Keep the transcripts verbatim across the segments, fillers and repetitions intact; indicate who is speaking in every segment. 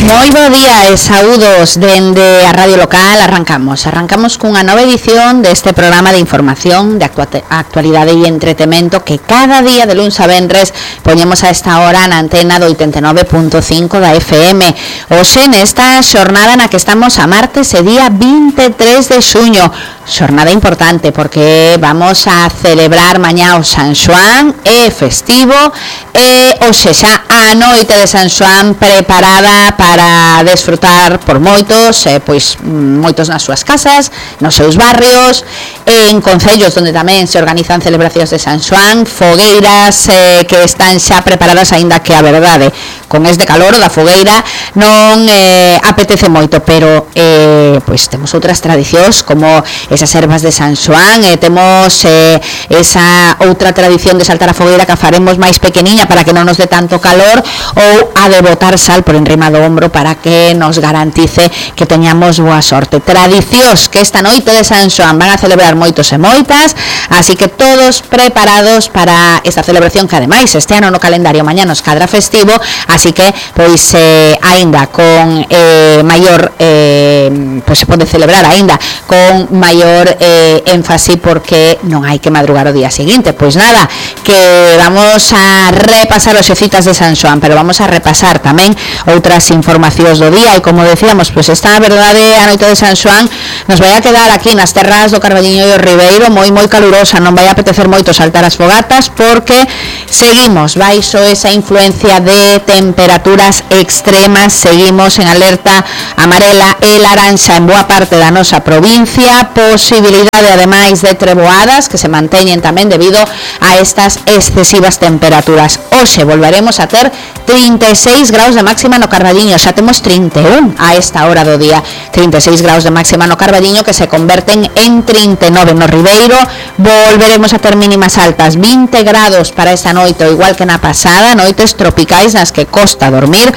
Speaker 1: Moi bo día e saúdos dende a Radio Local. Arrancamos, arrancamos cunha nova edición deste programa de información, de actualidade e entretemento que cada día de luns a venres poñemos a esta hora na antena do oitenta e nove punto cinco da F M. Hoxe nesta xornada na que estamos a martes e día vinte e tres de xuño. Xornada importante porque vamos a celebrar mañá o San Xoán, é festivo e hoxe xa a noite de San Xoán preparada para desfrutar por moitos, eh, pois moitos nas súas casas, nos seus barrios, en concellos onde tamén se organizan celebracións de San Xoán, fogueiras eh, que están xa preparadas, aínda que a verdade con este calor da fogueira non eh, apetece moito, pero eh, pois temos outras tradicións como esas ervas de San Xoán, e temos eh, esa outra tradición de saltar a fogueira que a faremos máis pequeniña para que non nos dé tanto calor, ou a de botar sal por enrima do ombro para que nos garantice que teñamos boa sorte. Tradicións que esta noite de San Xoán van a celebrar moitos e moitas, así que todos preparados para esta celebración que ademais este ano no calendario mañá nos cadra festivo, así que pois eh, aínda con eh, maior eh, pois se pode celebrar aínda con maior eh, énfase porque non hai que madrugar o día seguinte. Pois nada, que vamos a repasar os xecitas de San Xoán, pero vamos a repasar tamén outras informacións do día, e como decíamos, pois esta verdade a noite de San Xoán nos vai a quedar aquí nas terras do Carballiño e o Ribeiro moi moi calurosa, non vai a apetecer moito saltar as fogatas porque seguimos baixo esa influencia de temperaturas extremas, seguimos en alerta amarela e laranxa en boa parte da nosa provincia, posibilidade ademais de treboadas que se manteñen tamén debido a estas excesivas temperaturas. Hoxe volveremos a ter trinta e seis graus de máxima no Carballiño, xa temos trinta e un a esta hora do día, trinta e seis graus de máxima no Carballiño que se converten en trinta e nove no Ribeiro. Volveremos a ter mínimas altas, vinte grados para esta noite, igual que na pasada, noites tropicais nas que costa dormir.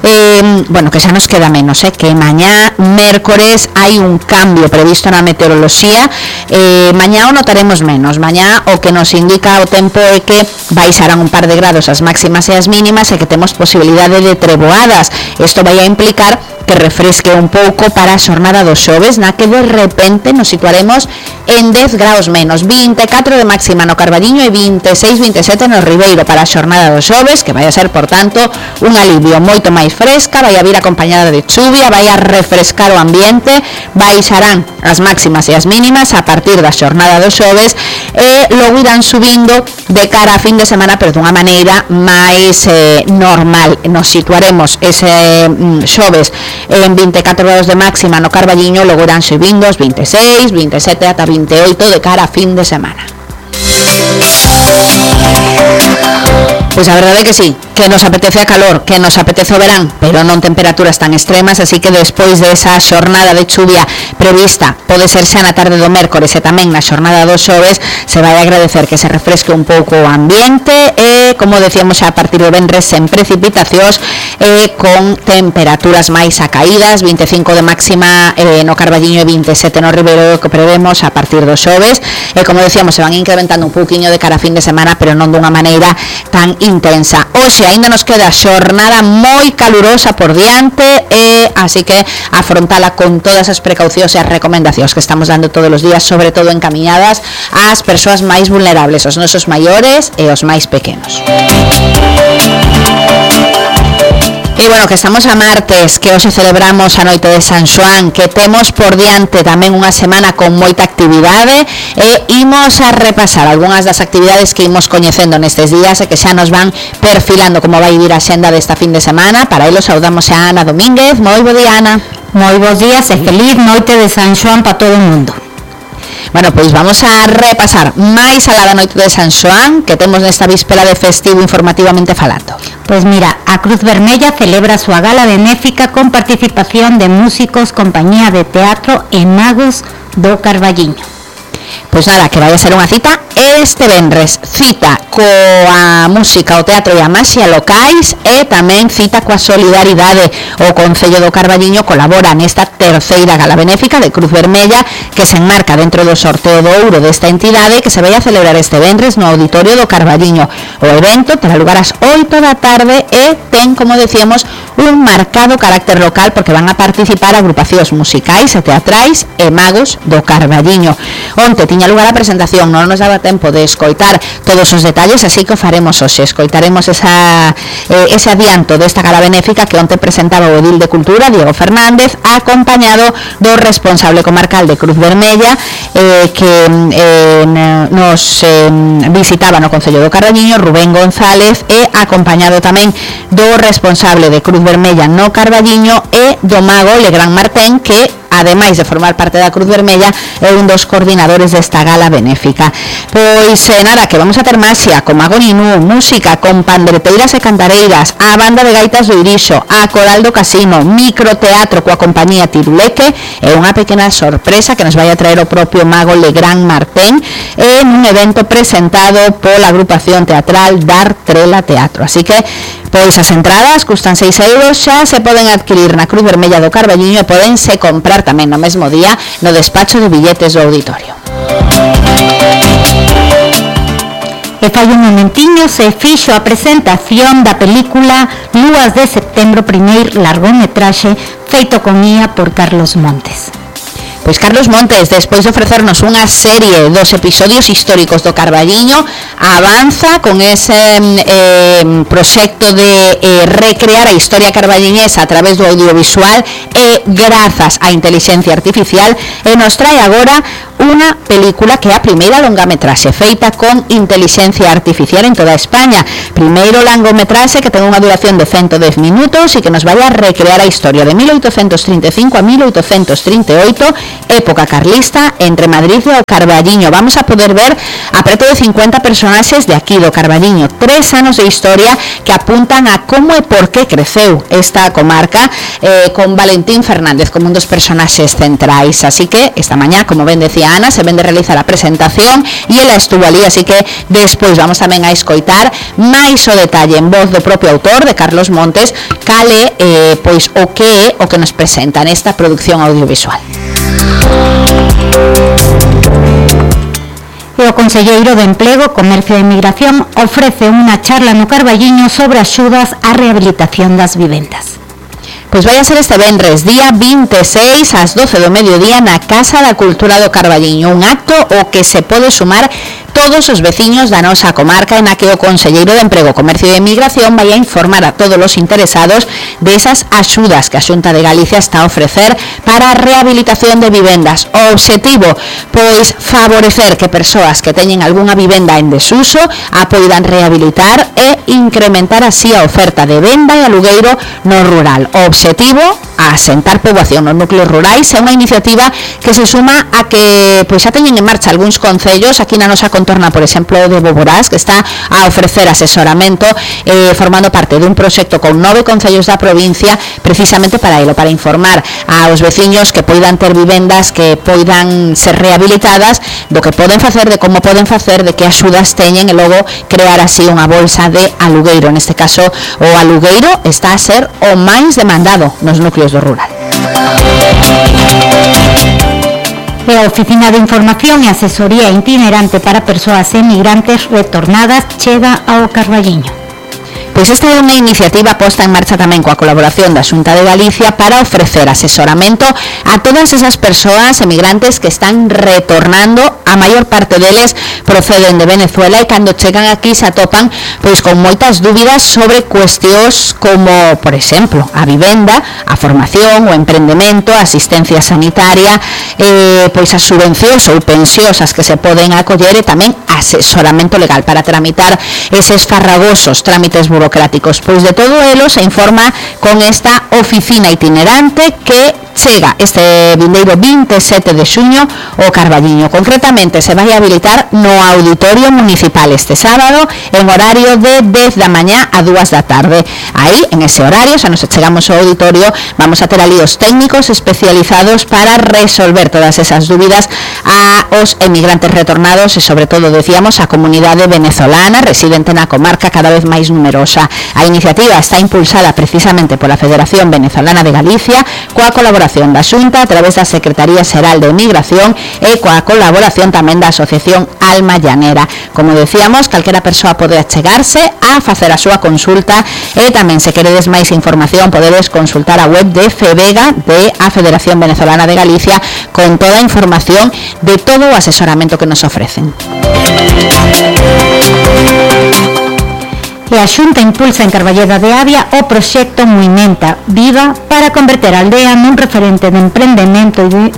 Speaker 1: Eh, bueno, que xa nos queda menos, eh, que mañá mércores hai un cambio previsto na meteoroloxía, eh, mañá o notaremos menos, mañá o que nos indica o tempo é que baixarán un par de grados as máximas e as mínimas e que temos posibilidade de treboadas. Isto vai a implicar que refresque un pouco para a xornada do xoves, na que de repente nos situaremos en dez graus menos, vinte e catro de máxima no Carballiño e vinte e seis, vinte e sete no Ribeiro para a xornada do xoves, que vai a ser, por tanto, un alivio moito máis fresca, vai a vir acompañada de chuvia, vai a refrescar o ambiente, baixarán as máximas e as mínimas a partir da xornada do xoves e logo irán subindo de cara a fin de semana, pero dunha maneira máis eh, normal. Nos situaremos ese mm, xoves en vinte e catro graus de máxima no Carballiño, logo irán subindo os vinte e seis, vinte e sete ata vinte e oito de cara a fin de semana. Pois a verdade é que sí, que nos apetece a calor, que nos apetece o verán, pero non temperaturas tan extremas, así que despois de esa xornada de chuvia prevista, pode ser xa na tarde do mércores e tamén na xornada do xoves, se vai agradecer que se refresque un pouco o ambiente e, como decíamos xa a partir do venres, sen precipitacións e con temperaturas máis acaídas, vinte e cinco de máxima eh, no Carballiño e vinte e sete no Ribeiro que prevemos a partir do xoves, e como decíamos, se van incrementando un pouquiño de cara a fin de semana, pero non dunha maneira tan intensa. Hoxe aínda nos queda xornada moi calurosa por diante e así que afrontala con todas as precaucións e as recomendacións que estamos dando todos os días, sobre todo encaminadas ás persoas máis vulnerables, os nosos maiores e os máis pequenos. E bueno, que estamos a martes, que hoxe celebramos a noite de San Xoán, que temos por diante tamén unha semana con moita actividade e imos a repasar algunhas das actividades que imos coñecendo nestes días e que xa nos van perfilando como vai vir a xenda desta fin de semana. Para elo saudamos a Ana Domínguez. Moi bo día, Ana.
Speaker 2: Moi bons días e feliz noite de San Xoán para todo o mundo.
Speaker 1: Bueno, pois vamos a repasar máis alá da noite de San Xoán que temos nesta víspera de festivo informativamente falando.
Speaker 2: Pois mira, a Cruz Vermella celebra a súa gala benéfica con participación de músicos, compañía de teatro e magos do Carballiño.
Speaker 1: Pois nada, que vai a ser unha cita este venres cita coa música, o teatro e a maxia locais e tamén cita coa solidaridade. O Concello do Carballiño colabora nesta terceira gala benéfica de Cruz Vermella que se enmarca dentro do sorteo do ouro desta entidade que se vai a celebrar este venres no Auditorio do Carballiño. O evento terá lugar ás oito da tarde e ten, como decíamos, un marcado carácter local porque van a participar agrupacións musicais e teatrais e magos do Carballiño. Onte tiña lugar a presentación, non nos daba tempo de escoitar todos os detalles, así que o faremos hoxe. Escoitaremos esa, eh, ese adianto desta gala benéfica que onte presentaba o edil de Cultura, Diego Fernández, acompañado do responsable comarcal de Cruz Vermella, eh, que eh, nos eh, visitaba no Concello do Carballiño, Rubén González, e acompañado tamén do responsable de Cruz Vermella no Carballiño e do mago Legrand Martén, que ademais de formar parte da Cruz Vermella é un dos coordinadores desta gala benéfica. Pois eh, nada, que vamos a ter maxia con Mago Ninú, música con pandereteiras e cantareiras, a banda de gaitas do Irixo, a coral do Casino, microteatro coa compañía Tiruleque e unha pequena sorpresa que nos vai a traer o propio mago Legrand Martén en un evento presentado pola agrupación teatral Dar Trela Teatro. Así que pois as entradas custan seis euros, xa se poden adquirir na Cruz Vermella do Carballiño e podense comprar tamén no mesmo día no despacho de billetes do auditorio.
Speaker 2: E fai un momentiño se fixo a presentación da película Lúas de Setembro, primeiro largometraxe feito con I A por Carlos Montes.
Speaker 1: Pois Carlos Montes, despois de ofrecernos unha serie dos episodios históricos do Carballiño, avanza con ese eh, proxecto de eh, recrear a historia carballiñesa a través do audiovisual e grazas á inteligencia artificial, e nos trae agora unha película que é a primeira longametraxe feita con inteligencia artificial en toda España. Primeiro longametraxe que ten unha duración de ciento dez minutos e que nos vai a recrear a historia de mil oitocentos trinta e cinco a mil oitocentos trinta e oito, época carlista, entre Madrid e o Carballiño. Vamos a poder ver a preto de cincuenta personaxes de aquí do Carballiño, tres anos de historia que apuntan a como e por que creceu esta comarca, eh, con Valentín Fernández como un dos personaxes centrais. Así que esta mañá, como ben decía Ana, se ven de realizar a presentación e ela estuvo ali, así que despois vamos tamén a escoitar máis o detalle en voz do propio autor, de Carlos Montes, cale eh, pois o que é o que nos presenta nesta producción audiovisual.
Speaker 2: E o Conselleiro de Emprego, Comercio e Emigración ofrece unha charla no Carballiño sobre axudas á rehabilitación das vivendas.
Speaker 1: Pois vai a ser este venres, día vinte e seis, ás doce do mediodía, na Casa da Cultura do Carballiño, un acto o que se pode sumar todos os veciños da nosa comarca, en a que o Conselleiro de Emprego, Comercio e Emigración vai a informar a todos os interesados desas axudas que a Xunta de Galicia está a ofrecer para a rehabilitación de vivendas. O obxectivo, pois, favorecer que persoas que teñen algunha vivenda en desuso a poidan rehabilitar e incrementar así a oferta de venda e alugueiro no rural. O obxectivo, a asentar poboación nos núcleos rurais, é unha iniciativa que se suma a que pois xa teñen en marcha algúns concellos aquí na nosa contorna, por exemplo, de Boborás, que está a ofrecer asesoramento eh, formando parte dun proxecto con nove concellos da provincia precisamente para elo, para informar aos veciños que poidan ter vivendas que poidan ser rehabilitadas, do que poden facer, de como poden facer, de que axudas teñen e logo crear así unha bolsa de alugueiro. Neste caso, o alugueiro está a ser o máis demandado nos núcleos do rural.
Speaker 2: E a Oficina de Información e Asesoría Itinerante para Persoas Emigrantes Retornadas chega ao Carballiño.
Speaker 1: Pois esta é unha iniciativa posta en marcha tamén coa colaboración da Xunta de Galicia para ofrecer asesoramento a todas esas persoas emigrantes que están retornando. A maior parte deles proceden de Venezuela e cando chegan aquí se atopan pois con moitas dúbidas sobre cuestións como, por exemplo, a vivenda, a formación, o emprendemento, a asistencia sanitaria, eh, pois as subvencións ou pensións as que se poden acoller e tamén asesoramento legal para tramitar eses farragosos trámites burocráticos. Pois de todo elo se informa con esta oficina itinerante que chega este vindeiro vinte e sete de xuño o Carballiño. Concretamente se vai habilitar no Auditorio Municipal este sábado en horario de dez da mañá a dúas da tarde. Aí, en ese horario, xa nos chegamos ao auditorio, vamos a ter ali os técnicos especializados para resolver todas esas dúbidas a os emigrantes retornados e, sobre todo, decíamos, a comunidade venezolana residente na comarca cada vez máis numerosa. A iniciativa está impulsada precisamente pola Federación Venezolana de Galicia, coa colaboración da Xunta a través da Secretaría Xeral de Emigración e coa colaboración tamén da Asociación Alma Llanera. Como decíamos, calquera persoa pode achegarse a facer a súa consulta e tamén, se queredes máis información, podedes consultar a web de FEVEGA, de a Federación Venezolana de Galicia, con toda a información de todo o asesoramento que nos ofrecen. E a Xunta impulsa en Carballeda de Avia o proxecto Movimenta Viva para converter a aldea nun referente de emprendemento e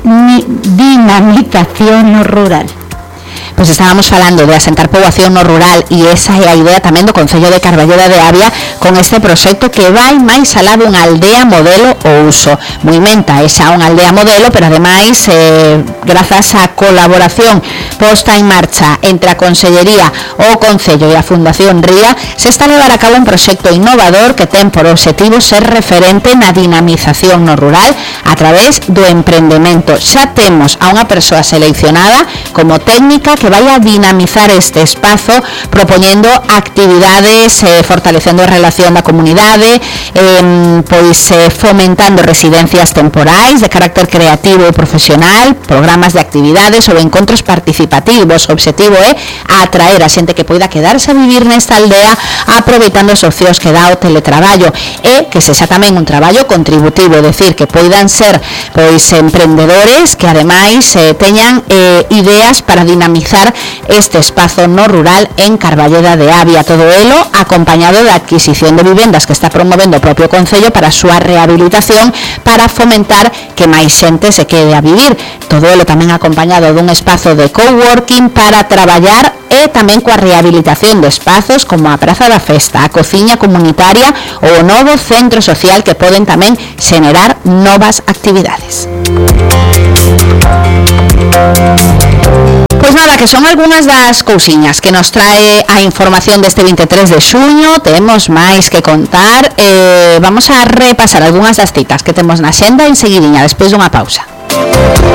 Speaker 1: dinamización no rural. Pois estábamos falando de asentar poboación no rural e esa é a idea tamén do Concello de Carballeda de Avia con este proxecto que vai máis alá dunha aldea modelo o uso. Movimenta é xa unha aldea modelo, pero ademais, eh, grazas á colaboración posta en marcha entre a Consellería, o Concello e a Fundación Ría, se está a levar a cabo un proxecto innovador que ten por obxectivo ser referente na dinamización no rural a través do emprendemento. Xa temos a unha persoa seleccionada como técnica que vai a dinamizar este espazo propoñendo actividades, eh, fortalecendo a relación da comunidade, eh, pois eh, fomentando residencias temporais de carácter creativo e profesional, programas de actividades ou encontros participativos. O obxectivo é atraer a xente que poida quedarse a vivir nesta aldea aproveitando os opcións que dá o teletraballo e que sexa tamén un traballo contributivo, é dicir, que poidan ser pois emprendedores que ademais eh, teñan eh, ideas para dinamizar este espazo no rural en Carballeda de Avia, todo elo acompañado da adquisición de vivendas que está promovendo o propio Concello para a súa rehabilitación para fomentar que máis xente se quede a vivir, todo elo tamén acompañado dun espazo de coworking para traballar e tamén coa rehabilitación de espazos como a Praza da Festa, a cociña comunitaria ou o novo centro social que poden tamén xenerar novas actividades. Pois nada, que son algunhas das cousiñas que nos trae a información deste vinte e tres de xuño. Temos máis que contar. Eh, vamos a repasar algunhas das citas que temos na xenda en seguidinha, despois dunha pausa.